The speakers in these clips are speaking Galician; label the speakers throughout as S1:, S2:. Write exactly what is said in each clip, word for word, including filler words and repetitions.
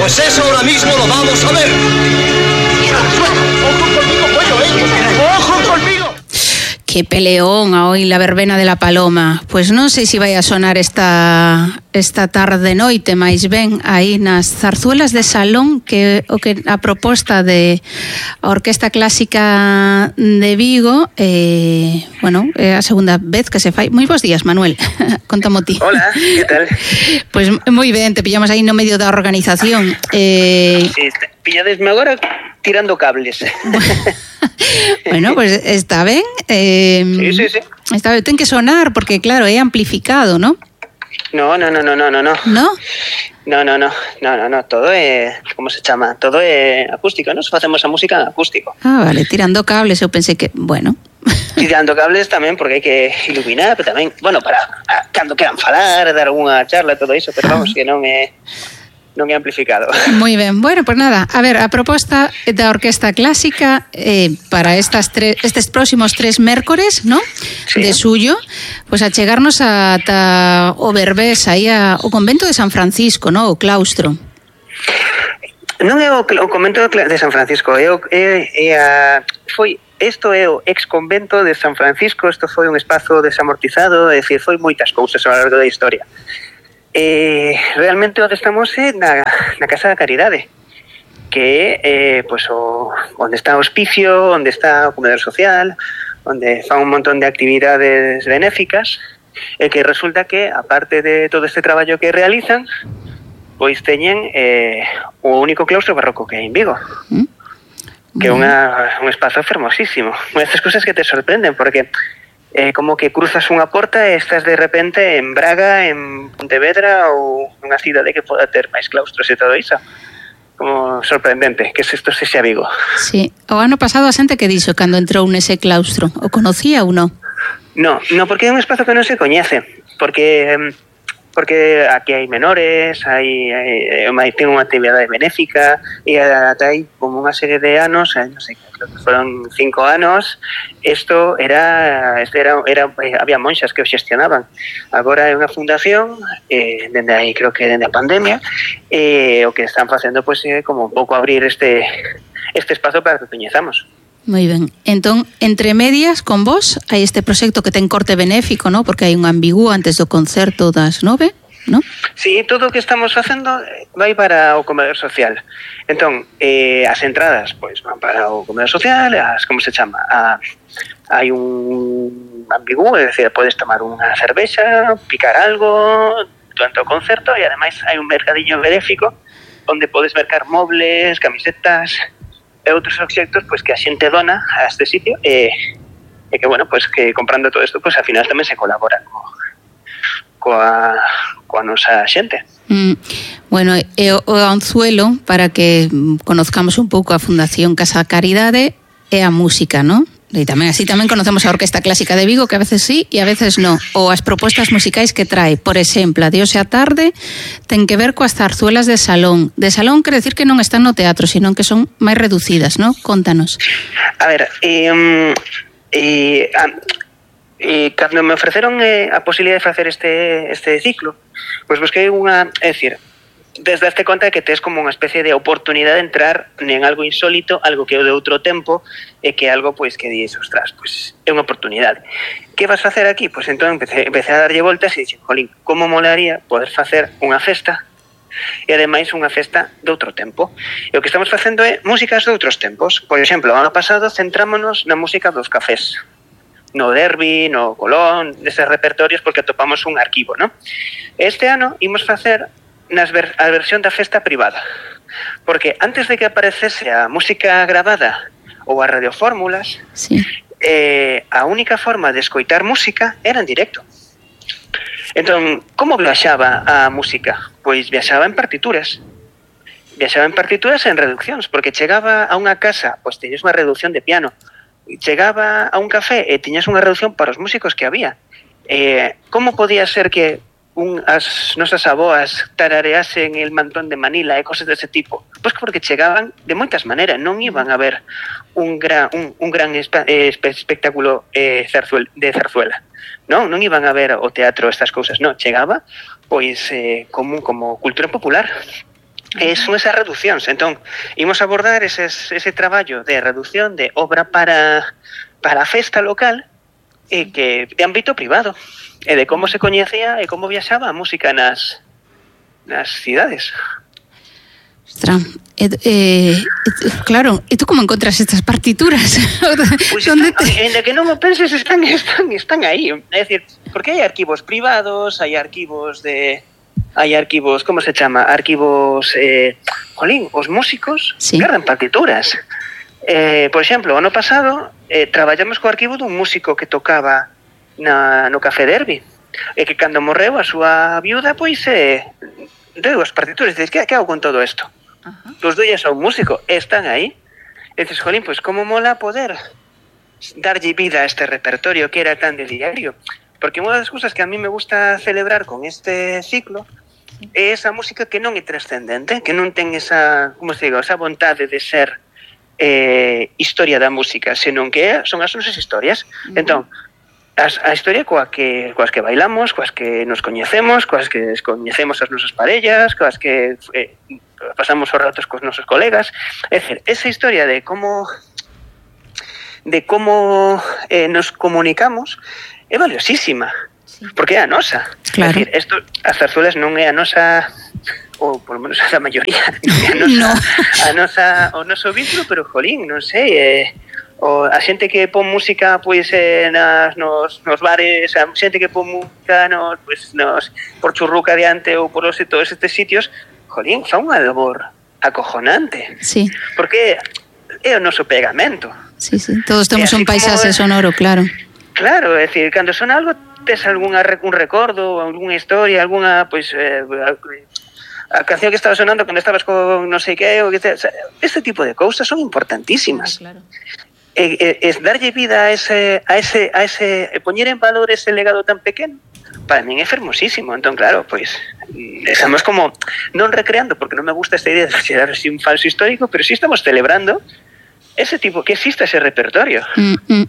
S1: Pues eso ahora mismo lo vamos a ver. ¡Ojo conmigo, pollo, eh! ¡Ojo conmigo!
S2: Que peleón a hoy la verbena de la Paloma. Pois non sei se vai a sonar esta esta tarde noite, máis ben aí nas zarzuelas de salón, que o que a proposta de a Orquesta Clásica de Vigo, eh, bueno, é a segunda vez que se fai. Moi bons días, Manuel. Contamo ti.
S3: Hola, que tal?
S2: Pois moi ben, te pillamos aí no medio da organización. Eh,
S3: sí, pilladesme agora tirando cables.
S2: Bueno, pues está ben. Eh,
S3: sí, sí, sí.
S2: Está ben, ten que sonar porque claro, é amplificado, ¿no?
S3: No, no, no, no, no, no.
S2: ¿No?
S3: No, no, no, no, no, no, todo é, como se chama? Todo é acústico, nos facemos a música en acústico.
S2: Ah, vale, tirando cables, eu pensei que, bueno.
S3: Tirando cables tamén, porque hai que iluminar, pero tamén, bueno, para a, cando queran falar, dar algunha charla, todo iso, pero vamos, que non é non é amplificado.
S2: Moi ben, bueno, pues nada, a ver, a proposta da Orquesta Clásica eh, para estas tres, estes próximos tres mércores, ¿no?
S3: Sí.
S2: De suyo, pues a chegarnos ata o Berbés, aí a, o convento de San Francisco, ¿no? O claustro.
S3: Non é o, o convento de San Francisco, é, o, é, é a, foi, isto é o ex convento de San Francisco, isto foi un espazo desamortizado, é dicir, foi moitas cousas ao largo da historia. Eh, realmente onde estamos é na, na Casa da Caridade, que é eh, pues, o, onde está o hospicio, onde está o comedor social, onde fan un montón de actividades benéficas, e que resulta que, aparte de todo este traballo que realizan, pois teñen eh, o único claustro barroco que hai en Vigo, ¿Mm? que é unha, un espazo fermosísimo. Unha destas cousas que te sorprenden, porque Eh, como que cruzas unha porta e estás de repente en Braga, en Pontevedra ou unha cidade que poda ter máis claustros e todo iso. Como sorprendente que isto sexa Vigo.
S2: Sí, o ano pasado a xente que dixo cando entrou nese claustro, o conocía ou non?
S3: No, no, porque é un espazo que non se coñece, porque porque aquí hai menores, hai, hai, hai ten unha actividade benéfica e ata hai como unha serie de anos, non sei, creo que foron cinco anos, isto era, isto era, era había monxas que o xestionaban. Agora é unha fundación, eh, dende aí creo que dende a pandemia, e eh, o que están facendo pois é como un pouco abrir este este espazo para que coñezamos.
S2: Moi ben. Entón, entre medias, con vos, hai este proxecto que ten corte benéfico, ¿no? Porque hai un ambigú antes do concerto das nove, ¿no?
S3: Sí, todo o que estamos facendo vai para o comedor social. Entón, eh, as entradas, pois, van para o comedor social, as, como se chama? A, hai un ambigú, é dicir, podes tomar unha cervexa, picar algo durante o concerto, e ademais hai un mercadiño benéfico onde podes mercar mobles, camisetas e outros obxectos pois que a xente dona a este sitio e, e que, bueno, pois que comprando todo isto, pois ao final tamén se colabora co, coa, coa nosa xente.
S2: Mm, bueno, e o, o anzuelo para que conozcamos un pouco a Fundación Casa Caridade é a música, ¿no? E tamén así tamén conocemos a Orquesta Clásica de Vigo, que a veces sí e a veces no, ou as propostas musicais que trae. Por exemplo, a de hoxe a tarde ten que ver coas zarzuelas de salón. De salón quere decir que non están no teatro, sino que son máis reducidas, ¿no? Contanos.
S3: A ver, eh, eh, eh, cando me ofreceron eh, a posibilidade de facer este, este ciclo, pois busquei unha, é dicir, desde este conta que tes como unha especie de oportunidade de entrar en algo insólito, algo que é de outro tempo, e que é algo pois que dices, ostras, pois é unha oportunidade. Que vas facer aquí? Pois entón empecé, empecé a darlle voltas e dixen, jolín, como molaría poder facer unha festa e ademais unha festa de outro tempo. E o que estamos facendo é músicas de outros tempos. Por exemplo, o ano pasado centrámonos na música dos cafés, no Derby, no Colón, deses repertorios, porque atopamos un arquivo, ¿no? Este ano imos facer nas ver, a versión da festa privada, porque antes de que aparecese a música grabada ou as radiofórmulas,
S2: sí.
S3: eh, a única forma de escoitar música era en directo. Entón, como viaxaba a música? Pois viaxaba en partituras. Viaxaba en partituras e en reduccións, porque chegaba a unha casa, pois teñes unha reducción de piano. Chegaba a un café e tiñas unha reducción para os músicos que había. Eh, como podía ser que un, as nosas aboas tarareasen el mantón de Manila e cosas dese tipo? Pois porque chegaban de moitas maneiras, non iban a ver un gran, un, un gran espe, eh, espectáculo eh, zarzuel, de zarzuela, non? Non iban a ver o teatro, estas cousas, non, chegaba pois eh, como, como cultura popular. E son esas reduccións. Entón, imos abordar eses, ese traballo de reducción de obra para, para a festa local e que de ámbito privado, e de como se coñecía e como viaxaba a música nas, nas cidades.
S2: Ostras, eh, eh, claro, e tú como encontras estas partituras?
S3: Pois pues están, te... ainda que non o penses, están, están, están aí. É dicir, porque hai arquivos privados, hai arquivos de... Hai arquivos, como se chama? Arquivos, eh, jolín, os músicos sí. Gardan partituras. Eh, por exemplo, o ano pasado eh, traballamos co arquivo dun músico que tocaba na, no Café Derby, e que cando morreu a súa viuda, pois, eh, deu as partituras. Dices, que, que hago con todo isto? Uh-huh. Os dois a un músico, están aí. E dices, jolín, pois como mola poder darlle vida a este repertorio que era tan de diario. Porque unha das cousas que a mí me gusta celebrar con este ciclo é esa música que non é trascendente, que non ten esa, como se digo, esa vontade de ser eh, historia da música, senón que son as nosas historias. Uh-huh. Entón, as, a historia coa que, coas que bailamos, coas que nos coñecemos, coas que coñecemos as nosas parellas, coas que eh, pasamos os ratos cos nosos colegas. É dicir, esa historia de como de como eh, nos comunicamos é valiosísima. Porque é a nosa.
S2: Claro.
S3: É dicir, esto, as zarzuelas non é a nosa, ou por lo menos a maioría, non é a nosa, no. a nosa, o noso vínculo, pero jolín, non sei, eh, o, a xente que pon música pois eh, nas, nos, nos bares, a xente que pon música nos, pois, nos, por Churruca adiante ou por os, todos estes sitios, jolín, fa unha labor acojonante.
S2: Sí.
S3: Porque é o noso pegamento.
S2: Sí, sí, todos temos un paisaxe como... sonoro, claro.
S3: Claro, é dicir, cando son algo tes algunha, un recordo, algunha historia, algunha, pois, eh, a, a canción que estaba sonando cando estabas con non sei que, o que te, o sea, este tipo de cousas son importantísimas. Claro, claro. E, e, es darlle vida a ese, a ese, a ese, e poñer en valor ese legado tan pequeno, para min é fermosísimo. Entón, claro, pois, estamos como, non recreando, porque non me gusta esta idea de xerar así un falso histórico, pero sí estamos celebrando ese tipo, que exista ese repertorio.
S2: Mm, mm.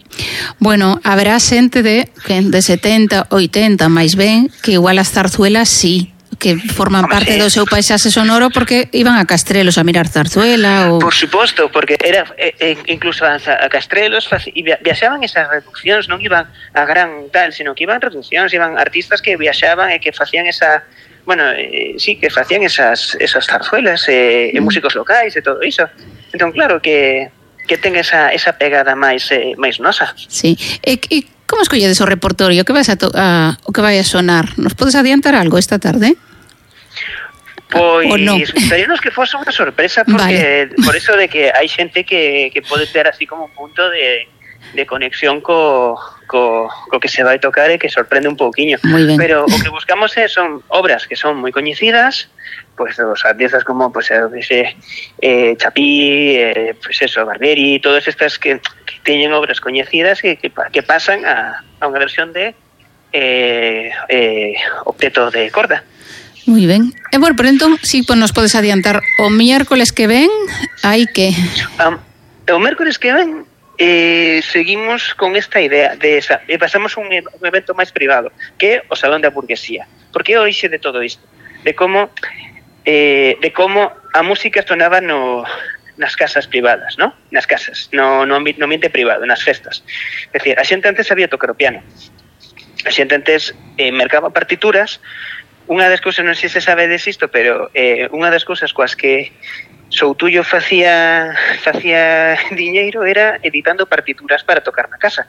S2: Bueno, haberá xente de, de setenta, oitenta, máis ben, que igual as zarzuelas sí, que forman Hombre, parte sí. do seu paisaxe sonoro porque iban a Castrelos a mirar zarzuela ou...
S3: Por suposto, porque era eh, incluso a, a Castrelos e viaxaban esas reduccións, non iban a gran tal, sino que iban reduccións, iban artistas que viaxaban e que facían esa... Bueno, eh, sí, que facían esas, esas zarzuelas eh, mm. e músicos locais e todo iso. Entón, claro que que ten esa, esa pegada máis eh, máis nosa.
S2: Sí. E, e como escolledes o repertorio? Que vas a, to a o que vai a sonar? Nos podes adiantar algo esta tarde?
S3: Pois, no? Gustaríanos que fose unha sorpresa, porque vale. Por eso de que hai xente que, que pode ter así como un punto de, de conexión co, co, co que se vai tocar e que sorprende un pouquiño. Pero o que buscamos é, son obras que son moi coñecidas, pues os artistas como pues ese eh, Chapí, eh, pues eso, Barbieri, todas estas que, que teñen obras coñecidas que, que, que pasan a, a unha versión de eh, eh, octeto de corda.
S2: Moi ben. E bueno, pero entón, si pues, nos podes adiantar o miércoles que ven, hai que...
S3: Um, o miércoles que ven eh, seguimos con esta idea de esa, e pasamos un, un evento máis privado, que é o Salón da Burguesía. Porque é o orixe de todo isto, de como eh, de como a música sonaba no, nas casas privadas, ¿no? Nas casas, no, no, no ambiente privado, nas festas. É dicir, a xente antes sabía tocar o piano. A xente antes eh, mercaba partituras. Unha das cousas, non sei se sabe desisto, pero eh, unha das cousas coas que Soutullo facía facía diñeiro era editando partituras para tocar na casa.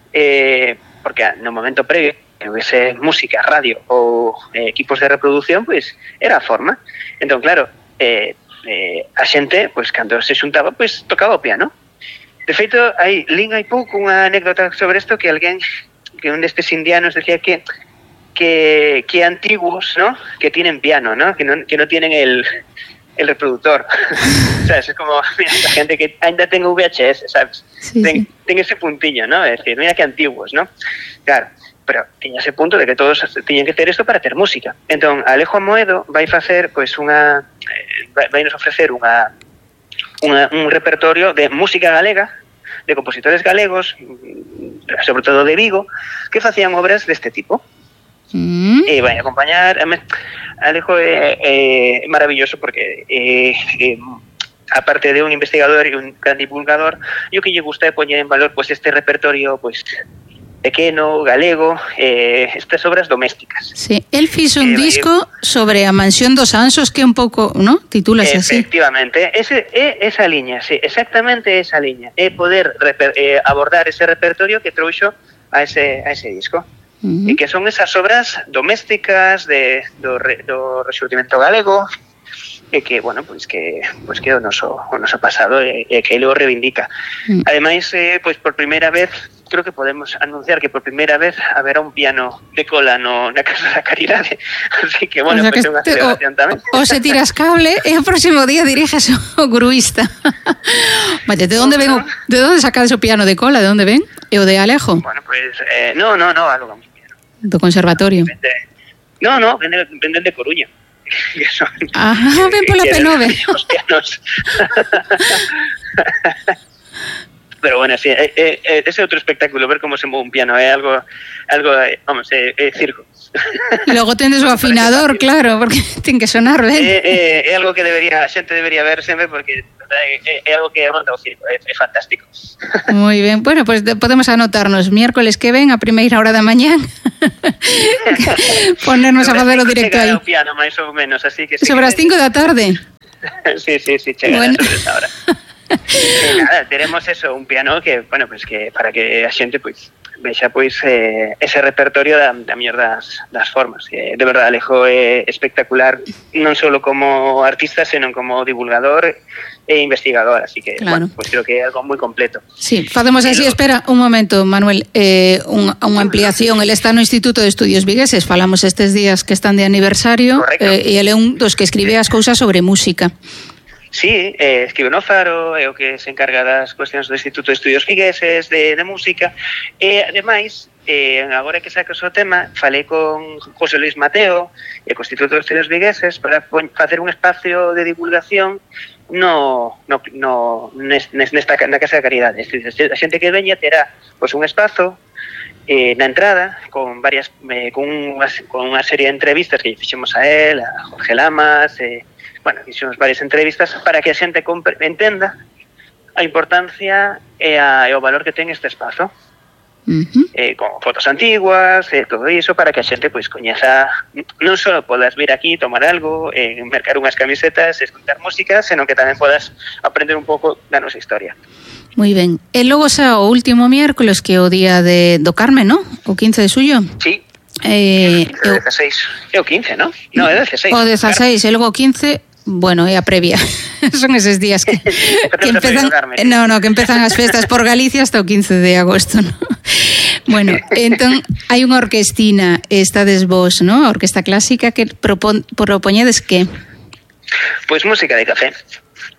S3: Eh, porque no momento previo que houvese música, radio ou eh, equipos de reproducción, pois era a forma. Entón, claro, eh, eh, a xente, pois cando se xuntaba, pois tocaba o piano. De feito, hai lin hai pouco unha anécdota sobre isto, que alguén, que un destes indianos decía que que, que antiguos, ¿no? Que tienen piano, ¿no? Que no, que no tienen el, el reproductor. ¿Sabes? Es como, mira, la gente que ainda ten V H S, ¿sabes? Sí, ten, sí. ten ese puntillo, ¿no? Es decir, mira que antiguos, ¿no? Claro, pero tiña ese punto de que todos tiñen que ter isto para ter música. Entón, Alejo Amoedo vai facer, pois, unha... Eh, vai nos ofrecer unha, unha, un repertorio de música galega, de compositores galegos, sobre todo de Vigo, que facían obras deste tipo.
S2: Mm.
S3: E vai acompañar. Alejo é, é maravilloso porque é, é, aparte de un investigador e un gran divulgador, e o que lle gusta é poñer en valor pues, este repertorio pues, pequeno, galego, eh, estas obras domésticas.
S2: Sí, el fixo un
S3: eh,
S2: disco sobre a Mansión dos Anxos que é un pouco, ¿no? Titúlase así.
S3: Efectivamente, ese, é esa liña, sí, exactamente esa liña. É poder reper, eh, abordar ese repertorio que trouxo a ese, a ese disco. Uh-huh. E que son esas obras domésticas de, do, re, do rexurdimento galego, e que, bueno, pois que pois que o noso o noso pasado e, e que ele o reivindica. Mm. Ademais, eh, pois por primeira vez, creo que podemos anunciar que por primeira vez haberá un piano de cola no na Casa da Caridade. Así que, bueno, o sea, pois é unha celebración tamén.
S2: O se tiras cable e o próximo día diriges o gruista. Vale, de onde ven o, de onde sacades o piano de cola? De onde ven? E o de Alejo?
S3: Bueno, pois eh, no, no, no, alugamos piano.
S2: Do conservatorio.
S3: Vende, no, no, venden vende de Coruña. Son,
S2: Ajá, ven pola P nove.
S3: Pero bueno, sí, eh, eh, ese outro espectáculo, ver como se move un piano, é eh, algo, algo, eh, vamos, é eh, eh, circo.
S2: Logo tendes o afinador, claro, porque ten que sonar ben.
S3: É eh, eh, algo que debería, a xente debería ver sempre, porque é, é algo que ronda o circo, é, é fantástico.
S2: Moi ben, bueno, pues podemos anotarnos miércoles que ven a primeira hora da mañán ponernos a facer o directo aí.
S3: O piano, máis ou menos, así que...
S2: Sobre as cinco da tarde.
S3: Sí, sí, sí, chega bueno. Sobre esa hora. E nada, teremos eso, un piano que, bueno, pues que para que a xente, pois, vexa, pois, eh, ese repertorio da, da mellor das, das formas. Eh, de verdade, Alejo é espectacular, non só como artista, senón como divulgador e investigador, así que, claro. Bueno, pues creo que é algo moi completo.
S2: Sí, facemos así, Pero... espera, un momento, Manuel, eh, un, unha ampliación, el está no Instituto de Estudios Vigueses, falamos estes días que están de aniversario, eh, e ele é un dos que escribe as cousas sobre música.
S3: Sí, eh, escribe no Faro, é o que se encarga das cuestións do Instituto de Estudios Vigueses, de, de música, e ademais, eh, agora que sacas o tema, falei con José Luis Mateo e co Instituto de Estudios Vigueses para facer un espacio de divulgación no, no, no nesta, na Casa da Caridade. A xente que veña terá pois, un espazo eh, na entrada con varias eh, con, unha, con unha serie de entrevistas que fixemos a él, a Jorge Lamas, eh, bueno, fixemos varias entrevistas para que a xente compre, entenda a importancia e, a, e o valor que ten este espazo. Uh-huh. Eh, con fotos antiguas, eh, todo iso, para que a xente pois coñeza, non só podas vir aquí, tomar algo, eh, mercar unhas camisetas, escutar música, senón que tamén podas aprender un pouco da nosa historia.
S2: Moi ben. E logo xa o último miércoles, que é o día de, do Carmen, ¿no? O quince de suyo.
S3: Sí.
S2: Eh,
S3: o dezaseis. É o quince, ¿no? No, é o dezaseis.
S2: O dezaseis, e logo o quince... Bueno, é a previa. Son eses días que, que empezan, no, no, que empezan as festas por Galicia hasta o quince de agosto, ¿no? Bueno, entón hai unha orquestina, estades vos, ¿no? A orquesta clásica que propon, propoñedes que?
S3: Pois música de café.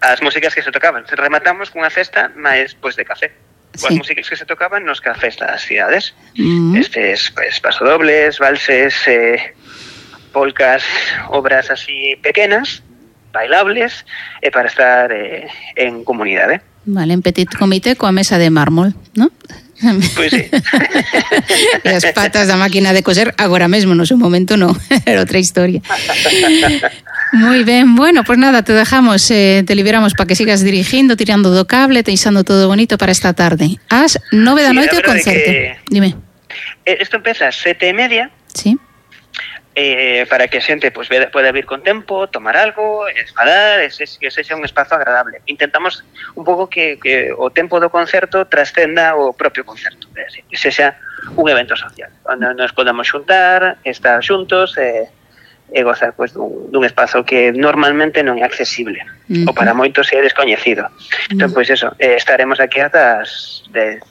S3: As músicas que se tocaban. Rematamos cunha festa máis pois de café. As sí. músicas que se tocaban nos cafés das cidades. Mm. Estes, pois, pasodobles, valses, eh, polcas, obras así pequenas, bailables, e para estar eh, en comunidade.
S2: Vale, en petit comité coa mesa de mármol, ¿no?
S3: Pois sí.
S2: E as patas da máquina de coser agora mesmo, no seu momento non, era outra historia. Moi ben, bueno, pues nada, te dejamos, eh, te liberamos para que sigas dirigindo, tirando do cable, deixando todo bonito para esta tarde. As nove da noite o concerto. Que... Dime.
S3: Isto empeza a sete e media.
S2: Sí.
S3: Eh, para que a xente pues, poda vir con tempo, tomar algo, esfalar, que sexa un espazo agradable. Intentamos un pouco que, que o tempo do concerto trascenda o propio concerto, é decir, que sexa un evento social, onde nos podamos xuntar, estar xuntos e, e gozar pues, dun, dun espazo que normalmente non é accesible, uh-huh. ou para moitos é descoñecido. Uh-huh. Entón, pois pues, eso, eh, estaremos aquí ata as dez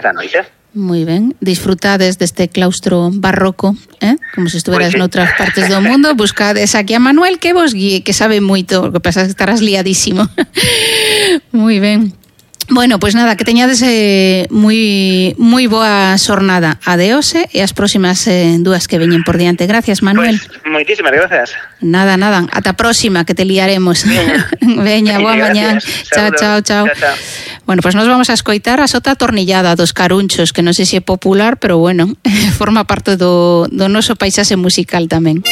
S3: da noite.
S2: Moi ben, disfrutades deste claustro barroco, eh? Como se estuveras pues sí. noutras partes do mundo. Buscades aquí a Manuel que vos guíe, que sabe moito, o que pasa é que estarás liadísimo. Moi ben. Bueno, pois pues nada, que teñades eh, moi moi boa xornada. Adeose e as próximas eh, dúas que veñen por diante. Gracias, Manuel.
S3: Pues, moitísimas gracias.
S2: Nada, nada. Ata a próxima, que te liaremos. Veña, boa mañá. Chao, chao, chao. Chao, chao. Bueno, pois pues nos vamos a escoitar a Sota Atornillada dos Carunchos, que non sei se é popular, pero bueno, forma parte do, do noso paisaxe musical tamén.